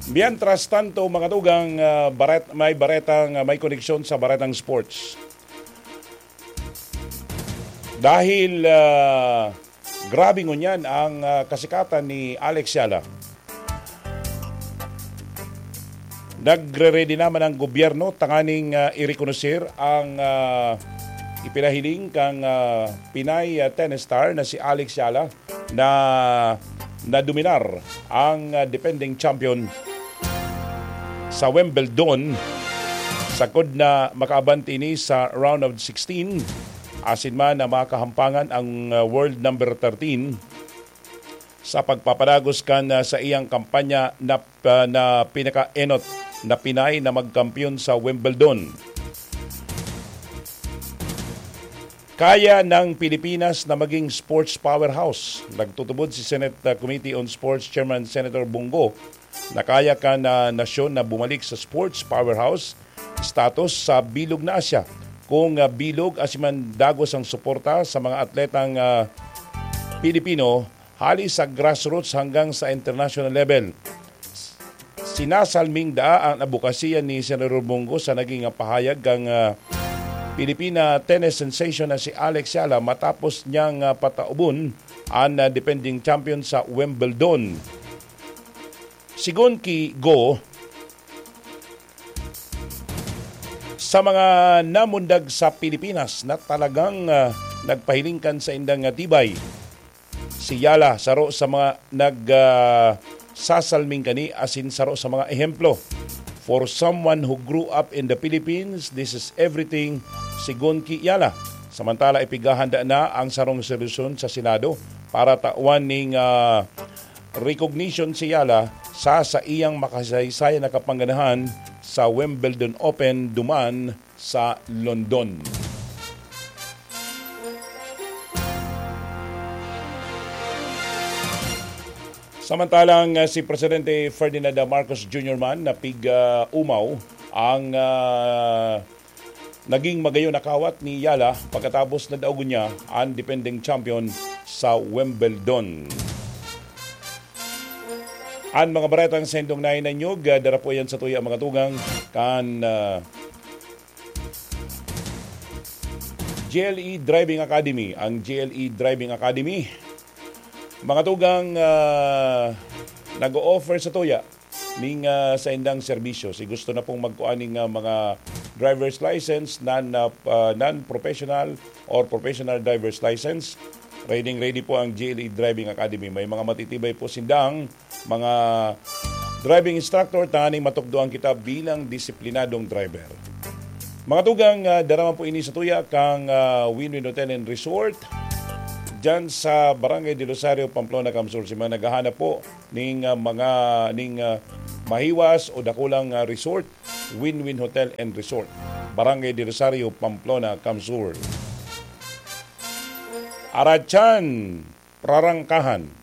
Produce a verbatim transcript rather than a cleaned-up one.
Mientras tanto, mga tugang, ah, baret-, may baretang, ah, may koneksyon sa baretang sports. Dahil, ah, grabe ngunyan ang, ah, kasikatan ni Alex Yala. Nagre-ready naman ang gobyerno tanganing, ah, irekonoser ang, ah, ipinahiling kang, ah, Pinay, ah, tennis star na si Alex Yala na nadominar ang, ah, defending champion sa Wimbledon, sagkod na makaabante ini sa round of sixteen, asin man na makahampangan ang, ah, world number thirteen sa pagpapadagos kan, ah, sa iyang kampanya na, ah, na pinakaenot na Pinay na magkampiyon sa Wimbledon. Kaya ng Pilipinas na maging sports powerhouse. Nagtutubod si Senate, ah, Committee on Sports Chairman Senator Bong Go na kaya kan, ah, nasyon na bumalik sa sports powerhouse status sa bilog na Asya. Kung, ah, bilog, asin man dagos ang suporta sa mga atletang, ah, Pilipino, hali sa grassroots hanggang sa international level. Sinasalming daa ang adbokasiya ni Senador Bong Go sa naging pahayag kang, ah, Pilipina tennis sensation na si Alex Yala matapos niyang, ah, pataubon ang, ah, defending champion sa Wimbledon. Sigon ki Go, sa mga namundag sa Pilipinas na talagang, ah, nagpahiling kan saindang, ah, tibay, si Yala, saro sa mga nag, ah, sasalming kani asin saro sa mga ehemplo. For someone who grew up in the Philippines, this is everything, sigon ki Yala. Samantala, ipigahanda na ang sarong solusyon sa Senado para tawan ning, ah, recognition si Yala sa saiyang makasaysayan na kapangganahan sa Wimbledon Open duman sa London. Samantalang, ah, si Presidente Ferdinand Marcos Junior man napig, ah, umaw ang, ah, naging magayon na kawat ni Yala pagkatapos na daogon niya ang defending champion sa Wimbledon. Ang mga baretang sendong nainanyog, ah, dara po yan sa tuya, mga tugang, kan, ah, G L E Driving Academy. Ang G L E Driving Academy, mga tugang, ah, nag-o-offer sa tuya ning, ah, saindang serbisyo. Si gusto na pong magkuha ning, ah, mga driver's license, non, ah, ah, non-professional or professional driver's license, ready, ready po ang G L E Driving Academy. May mga matitibay po sindang mga driving instructor tanganing matukdoan kita bilang disiplinadong driver. Mga tugang, ah, dara man po ini sa tuya kang, ah, Win-Win Hotel and Resort. Diyan sa Barangay del Rosario, Pamplona, Camsur. Si mga naghahanap po ning, ah, mga, ning, ah, mahiwas o dakulang, ah, resort, Win-Win Hotel and Resort, Barangay del Rosario, Pamplona, Camsur. Arachan, Prarangkahan.